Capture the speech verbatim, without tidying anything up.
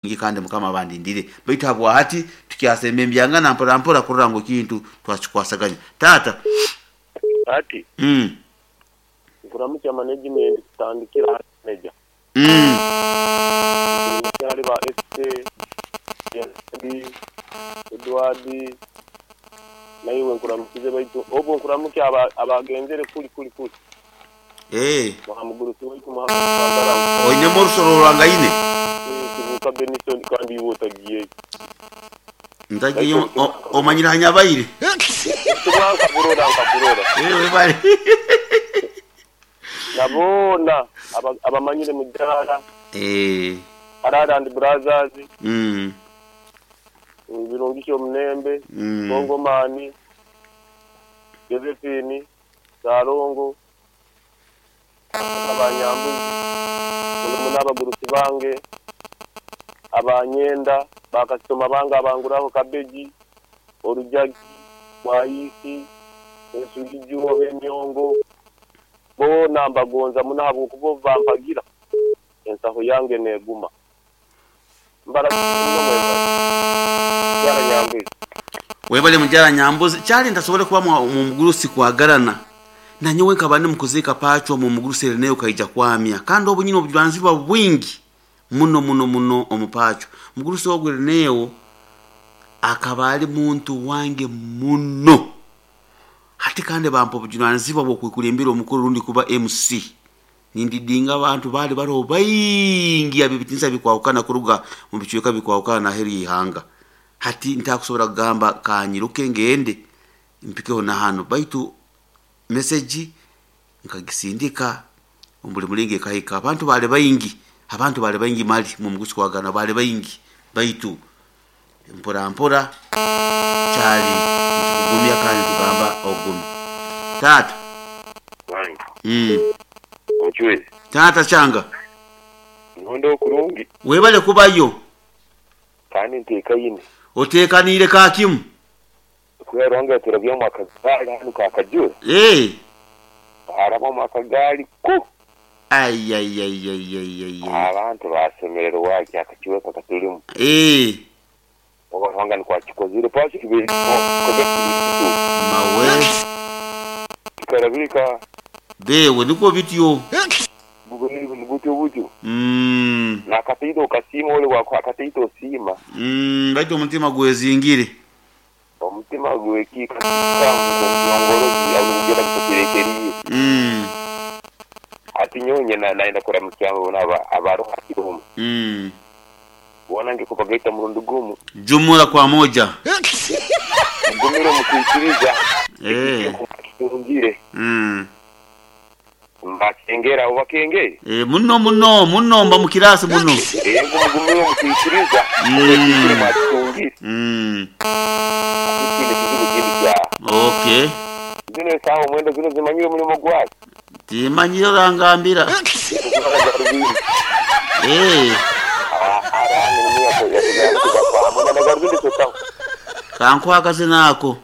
Kandi Mukama bandindire, baitu habwahati tukyasemba embyangana mpora mpora kurora ngu ekintu twakikwasaganya taata. Ati mm. nkuramukya management tutandikira manager. Mm. Mukyali ba S K B Edward, naiwe nkuramukize, baitu obwo nkuramukya aba- abagenzere kuli kuli kuli. Eh, muhamugurusi waitu muhamuagara. Oinemu orusoro rwangaine. Kibuka Benison, kandi iwe otagiyeyo. Ntagiye, omanyire hanyabaire. Tubwa nkakurora nkakurora. Eh, webale. Nabona aba- abamanyire mujara. Eh, Arara and Brothers. mm. Birungisha omunembe. Mm. Kongomani Josephine Sarongo, abanyambuzi muno, n'abagurusi bange abanyenda bakasitoma bange abanguraho kabeji, orujagi, bwayisi, ensugijuho, emyongo, boona mbagonza muno habwokuba bampagira ensaho yange neguma mbara muno. Mwebale yara nyambuzi. Webale mujara nyambuzi. Kyali ntasobole kuba mu mu mugurusi kwagarana nanyowe nkaba ndi mukuziika pacho mu mugurusi ereneyo kaija kwamya, kandi obu nyine obujunaanizibwa bwingi muno muno muno omupacho mugurusi ogwo ereneyo akaba ali muntu wange muno. Hati kandi bampa obujunaanizibwa bw'okwekulembera omukuru rundi kuba M C, nindidinga abantu baali bariho baingi abibitinisa bikwahukana kuruga mu bicweka bikwahukana naheru y'ihanga. Hati ntakusobora kugamba kanyiruke ngende mpikeho na hano, baitu meseji nkagisindika omu buli mulingo ekahika. Abantu baali baingi, abantu baali baingi mali mu mugusi kwagana baali baingi, baitu mpora mpora kyali nitukugumya kandi tugamba ogumi taata. Wange. mm. Omucwezi. Taata kyanga. Nonde okurungi. Webale kubayo. Kandi nteekaine. Oteekaniire kakimu. Kwerwanga turabyamu akagaali hanu kakajura. Eh. Harabamu akagaali ku Ayayayayayay. Abantu basemererwa waki akakiweka katulimu. Eh. Oba nikwakikozire pasi kibiri. Mawe. Kikarabirika. Bewe niko bityo. Butyo butyo. Mm. Nakataito okasiima ole wako akataito osiima. Mm, baitu omutima gwezingire. Omutima gwekika ngorozi alugera kukirekeriye. Mm. Ati nyonye na naenda kuramukya bona abaroha kirumu. Mm. Bona ngikupagaita murundi gumu. Jumula kwa moja. Gumiro mukwikiriza. Eh. Kirungire. Mm. Mbakengera ubakengere. Eh, muno muno muno mba mukirasi muno. Yego, mugumiro mukwikiriza. Mm. Mwakitungire. Mm. Ikindi kizibu kindi kya. Okay. Zino sawa mwendo zino zimanyire mulimo gwaki. Timanyire orangambira. Eh, kankwakaze nako.